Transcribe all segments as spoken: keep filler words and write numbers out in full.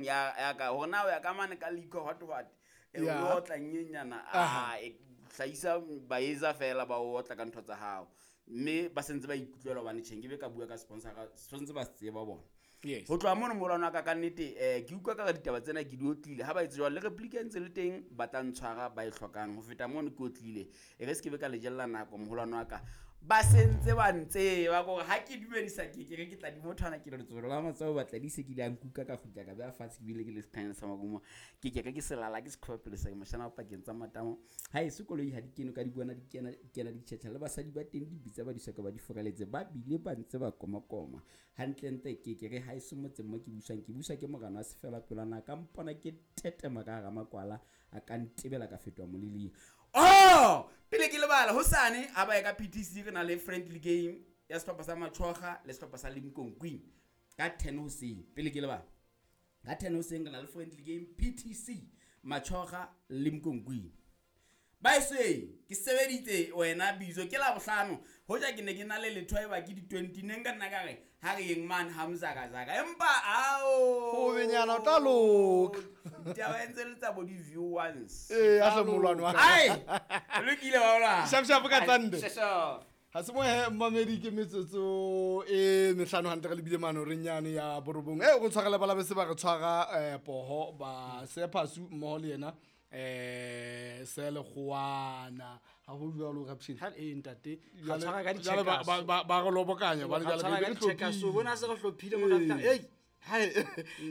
Ya ya ka hore na o ya ka mane ka liquor what what. E Ya. o otla nyenyana Aha. a e hlahisa baetsa fela ba o otla ka ntho tsa hao. Mme ba sentse ba ikutlwela hobane tjhe nkebe ka bua ka sponsor sentse ba se tseba bona. Yes. Ho tloha mono molwana wa ka ka nnete eh ke utlwa ka re ditaba tsena ke di otlile ha ba etse jwalo le replica e ntse le teng ba tla ntshwara ba e hlokang ho feta mono ke otlile e re se ke be ka le jella nako moholwane wa ka ba sentse ba ntseba kore ha ke dumedisa ke ke re ke tla di mothwana ke re letsoho la matsoho batla di se ke ile a nkuka ka kgutla ka beha fatshe ke bile ke le sekhanyana sa marumo ke ke re ke selala ke seqhoba pele sa moshana wa pakeng tsa matamo ha e se koloi ha di kene ka di bona di kena di kena di tjhetjha le basadi ba teng di bitsa ba di soka ba di furaletse ba bile ba ntse ba komakoma hantlentle ke ke re ha e se motseng mo ke buswang ke buswa ke morana wa sefela pelwana ka mpona ke tetema ka hara makwala a ka ntebela ka fetoha moleleng. Oh, pele ke lebala hosane ha ba ye ka P T C re na le friendly game ya sehlopha sa Machoga le sehlopha sa Limkokwing ka ten hoseng. Pele ke lebala ka ten hoseng re na le friendly game P T C Machoga Limkokwing. Ba se ke sebeditse wena bitso ke la bohlano hoja ke ne ke na le letho e ba ke di twenty ne nka nna ka re ha re yeng man Hamza ka zaka empa ao ho benyana o tla loka ditaba ntse le tsa bo di view once eh a hle molwane wa ai lokile wa hola Shap shap ka tsande Shap. Ha se mo he mamedi ke metsotso e mehlano hantle re lebile mano re nyane ya borobong e go tshwarela bala bese ba re tshwara eh poho ba sephasu mmoho le yena eh se le goana ha ho jwalo ka pshini ha e ntate Jwale- ga tshwara ka di jwale ba- checkers. ba ba- ba re lobokanya ba Ga jwale tshwara re ka be di re checkers. hlophile. O bona se re hlophile mona Ee. fihla, ei. Hai,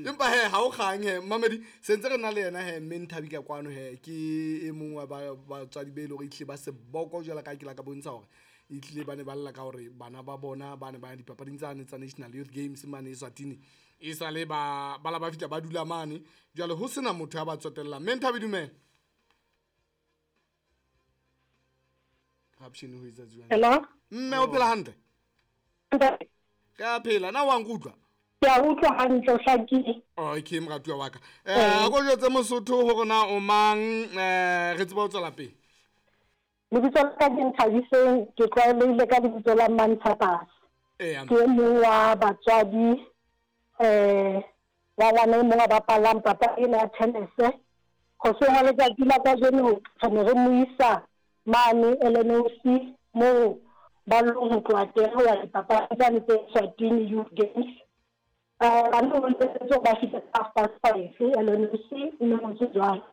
empa he ha o kgang he mamedi sentse re na le yena he mme Nthabi ka kwano he ke e mong wa ba batswadi be e leng hore ehlile ba seboko jwalo ka ha ke la ka bontsha hore ehlile ba ne ba lla ka hore bana ba bona ba ne ba ya dipapading tsane tsa National Youth Games mane Eswatini e sale ba ba la ba fihla ba dula mane jwale ho sena motho ya ba tsotellang. Mme Nthabi dumela. Rapshini ho etsa jwang? Hello? Mme o phela hantle? Ntate. Ke a phela, na wa nkutlwa? Ke a utlwa hantle, o hlakile. Okay, moratuwa wa ka. Eh, a ko jwetse Mosotho hore na o mang, eh, re tsebe ho tswela pele. Lebitso la ka ke Nthabiseng, ke tlwaelehile ka lebitso la Mantshapase. Eya. Ke e mong wa batswadi, eh, wa ngwana e mong a bapalang papadi ena ya tennis. Hoseng ha letsatsi la kajeno re ne re mo isa mane L N O C moo ba long ho tloha teng ho ya dipapadi tsane tse Eswatini Youth Games. Eh, bana ba ntse ba fihla ka half past five L N O C, mme ho ntse jwalo.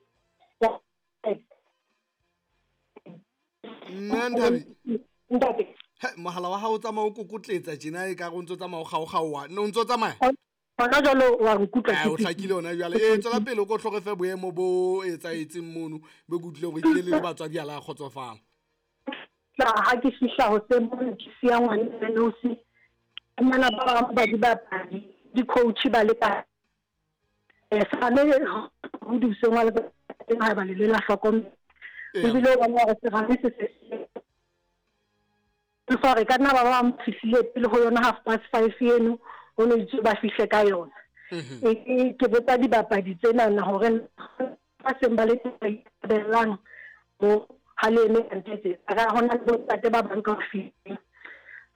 Mme Nthabi. Ntate. He, mohala wa hao o tsamaya o kokotletsa tjena e ka re o ntso tsamaya o kgaokgaoha. No, o ntso tsamaya? Hona jwale wa nkutlwa Eh, ke o hlakile hona jwale. Eh, tswela pele o ko hloke fe boemo bo etsahetseng mono, bo ke utlwile hore ehlile le batswadi ha la kgotsofala. Tla, ha ke fihla hoseng mono ke siya ngwana L N O C, bana ba bang ba dibapadi, di-coach ba le ka. Eh, serame ho di hoseng wa letsatsi ha eba le le la hlokomela. Eya. Ebile o bona hore serame se se se fa re ka nna ba bang ba fihlile pele ho yona half past five eno, ho no itse ba fihle ka yona. Mhm. E, e, ke botsa dibapadi tsenana hore ba seng ba le teng ba bellang mo ha le eme hantle tse. A ka hona le bontate ba bang ka ho fihla.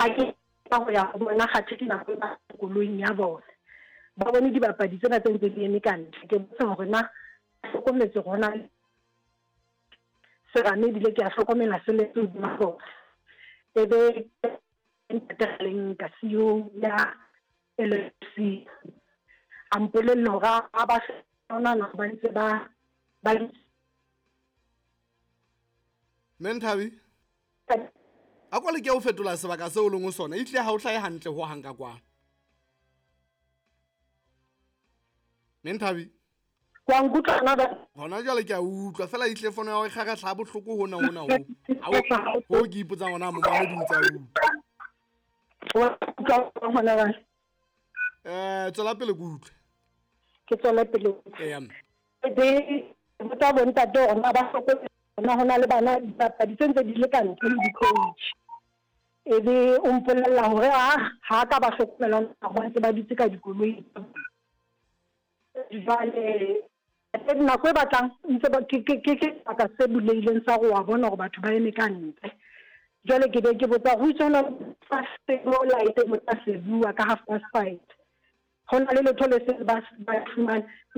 Ha ke ka ho ya ho bona kgathe ke nako e ba koloing ya bona. Ba bone dibapadi tsena tse ntse di eme ka ntle. Ke botsa hore na hlokometse hore na serame ebile ke a hlokomela se le hodima bona. E be ntate a leng ka C E O ya L N C. A mpolelle hore ha ba hlokomela na ba ntse ba, ba Mme Nthabi? A ko leke ho fetola sebaka seo o leng ho sona, ehlile ha o hlahe hantle ho hang ka kwano. Mme Nthabi? Wa nkutlwa na ba? Hona jwale ke a utlwa, fela ehlile fono ya hao e kgaratla ha bohloko hona hona ho. Ha o, ho ke ipotsang hona momamedi o ntse a utlwa. Wa utlwa hona ba? Eh, tswela pele ke utlwe. Ke tswela pele. Eya, mme. Be botsa bontate hore na ba hlokomela hona hona le bana dipapadi tse ntse di le ka ntle le di-coach. E be o mpolella hore ha, ha ka ba hlokomela ba ntse ba dutse ka dikoloi. Jwale nako e batlang ntse ba ke, ke, ke, ke sebaka se bulehileng sa go wa bona hore batho ba eme ka ntle. Jwale ke be ke botsa ho itse hona le mo light mo tla se bua ka half past five. Ho na le letho le se ba, ba fumane.